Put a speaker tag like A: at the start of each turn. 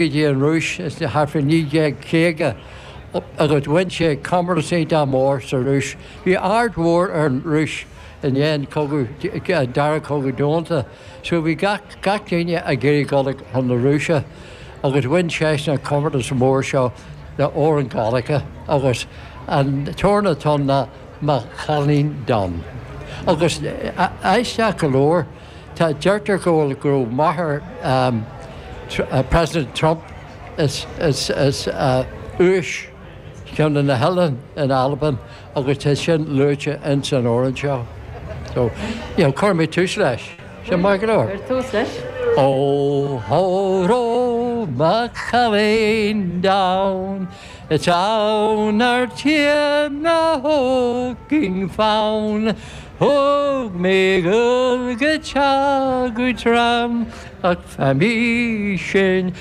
A: Dtí an Rúis thart fá 1950 agus bhain sé comórtas iontach mór sa Rúis. Bhí aird mhór ar an Rúis i ndiaidh an cogadh, an Dara Cogadh Domhanda, so bhí gach, gach duine ag iarraidh dul chun na Rúise agus bhain seisean an comórtas mór seo le amhrán Gaeilge agus an t-amhrán atá ann ná Mo Chailín Donn. Agus aisteach go leor, Tá, deirtear go bhfuil, go raibh máthair President Trump as Uais, ceann de na hoileáin in Albain agus tá sin luaite ins an amhrán seo. So, you know, cuirfidh mé tús leis. Sin maith go leor.
B: Cuir tús leis.
A: Ó hóró mo chailín donn, Is ann ar tír na hóging fonn, Thug mé dhul go teach tram ach fa mí sin.